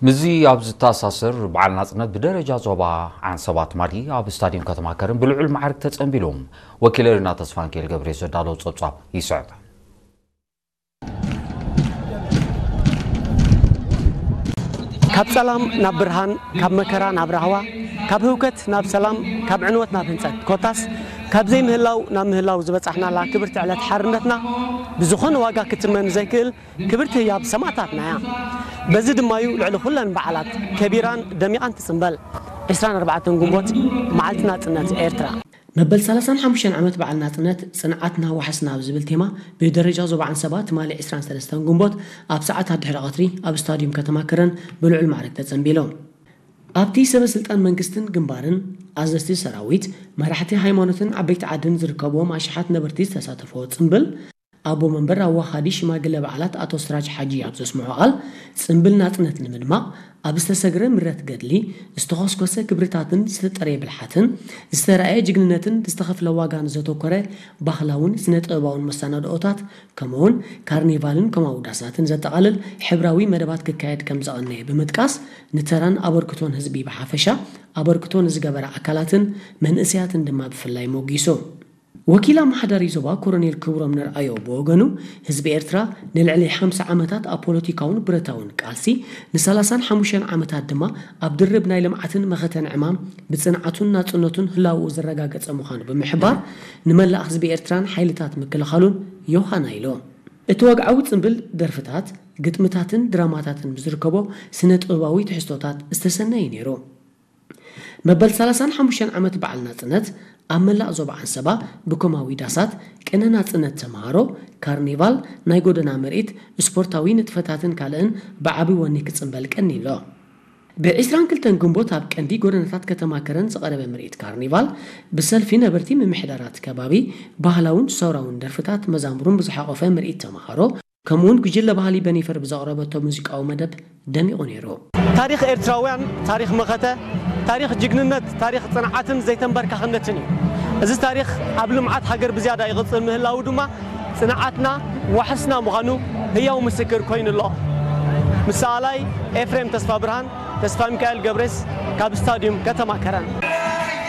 ምስዚ ኣብ ዝተኣሳሰር፣ በዓል ናጽነት ብደረጃ ዞባ ዓንሰባ ትማሊ ኣብ ስታድዩም ከተማ ከረን ብልዑል ማዕርግ ተጸንቢሉ። ወኪለ ሪና ተስፋንኪኤል ገብሬ ዘዳለዎ ጸብጻብ ይስዕብ። ካብ ጸላም ናብ ብርሃን፣ ካብ መከራ ናብ ራህዋ፣ ካብ ህውከት ናብ ሰላም፣ ካብ ዕንወት ናብ ህንጸት፣ ኮታስ ካብ ዘይምህላው ናብ ምህላው ዝበጻሕናላ ክብርቲ ዕለት ሓርነትና ብዝኾነ ዋጋ ክትመን ዘይክእል ክብርቲ ህያብ ሰማእታትና እያ። በዚ ድማ እዩ ልዕሊ ኩለን በዓላት ከቢራን ደሚቓን ትጽንበል። ዕስራን ኣርባዕተን ግንቦት፣ መዓልቲ ናጽነት ኤርትራ። መበል ሰላሳን ሓሙሽተን ዓመት በዓል ናጽነት፣ ጽንዓትና ዋሕስና ኣብ ዝብል ቴማ፣ ብደረጃ ዞባ ዓንሰባ ትማሊ ዕስራን ሰለስተን ግንቦት ኣብ ሰዓታት ድሕሪ ቀትሪ ኣብ ስታድዩም ከተማ ከረን ብልዑል ማዕርግ ተጸንቢሉ። ኣብቲ ሰበ ስልጣን መንግስትን ግንባርን፣ ኣዘዝቲ ሰራዊት፣ መራሕቲ ሃይማኖትን ዓበይቲ ዓድን ዝርከብዎም ኣሽሓት ነበርቲ ዝተሳተፍዎ ጽምብል፣ ኣቦ መንበር ኣዋሃዲ ሽማግለ በዓላት ኣቶ ስራጅ ሓጂ ኣብ ዘስምዖ ቃል፣ ጽምብል ናጽነት ንምድማቕ ኣብ ዝተሰግረ ምረት ገድሊ፣ ዝተኾስኮሰ ክብርታትን ዝተጠርየ ብልሓትን፣ ዝተራእየ ጅግንነትን ዝተኸፍለ ዋጋን ዘተኮረ ባህላውን ስነ ጥበባውን መሰናድኦታት፣ ከምኡውን ካርኒቫልን ከማዊ ዳሳትን ዘጠቓልል ሕብራዊ መደባት ክካየድ ከም ዘቐነየ ብምጥቃስ፣ ንተራን ኣበርክቶን ህዝቢ ብሓፈሻ፣ ኣበርክቶ ንዝገበራ ኣካላትን መንእሰያትን ድማ ብፍላይ ሞጊሱ። ወኪል ኣመሓዳሪ ዞባ ኮሎኔል ክብሮም ነርኣዮ ብወገኑ፣ ህዝቢ ኤርትራ ንልዕሊ ሓምሳ ዓመታት ኣብ ፖለቲካውን ብረታውን ቃልሲ፣ ንሰላሳን ሓሙሽተን ዓመታት ድማ ኣብ ድርብ ናይ ልምዓትን መኸተን ዕማም ብጽንዓቱን ናጽነቱን ህላውኡ ዘረጋገጸ ምዃኑ ብምሕባር፣ ንመላእ ህዝቢ ኤርትራን ሓይልታት ምክልኻሉን ዮሃና ኢሉ። እቲ ወግዓዊ ጽምብል ደርፍታት፣ ግጥምታትን ድራማታትን ብዝርከቦ ስነ ጥበባዊ ትሕዝቶታት ዝተሰነየ ነይሩ። መበል ሰላሳን ሓሙሽተን ዓመት በዓል ናጽነት ኣብ መላእ ዞባ ዓንሰባ ብኮማዊ ዳሳት፣ ቅነ ናጽነት ተመሃሮ፣ ካርኒቫል፣ ናይ ጎደና ምርኢት፣ ስፖርታዊ ንጥፈታትን ካልእን ብዓቢ ወኒ ክጽንበል ቀንዩ ኣሎ። ብዕስራን ክልተን ግንቦት ኣብ ቀንዲ ጎደናታት ከተማ ከረን ዝቐረበ ምርኢት ካርኒቫል፣ ብሰልፊ ነበርቲ ምምሕዳራት ከባቢ፣ ባህላውን ሰውራውን ደርፍታት መዛሙሩን ብዝሓቖፈ ምርኢት ተመሃሮ፣ ከምኡውን ጉጅለ ባህሊ በኒፈር ብዘቕረበቶ ሙዚቃዊ መደብ ደሚቑ ነይሩ። ታሪኽ ኤርትራውያን፣ ታሪኽ መኸተ፣ ታሪኽ ጅግንነት፣ ታሪኽ ጽንዓትን ዘይተንበርካኽነትን እዩ። እዚ ታሪኽ ኣብ ልምዓት ሃገር ብዝያዳ ይቕጽል ምህላዉ ድማ፣ ጽንዓትና ዋሕስና ምዃኑ ህያው ምስክር ኮይኑ ኣሎ። ምስ ሰኣላይ ኤፍሬም ተስፋ ብርሃን፣ ተስፋ ሚካኤል ገብሬስ፣ ካብ ስታድዩም ከተማ ከረን።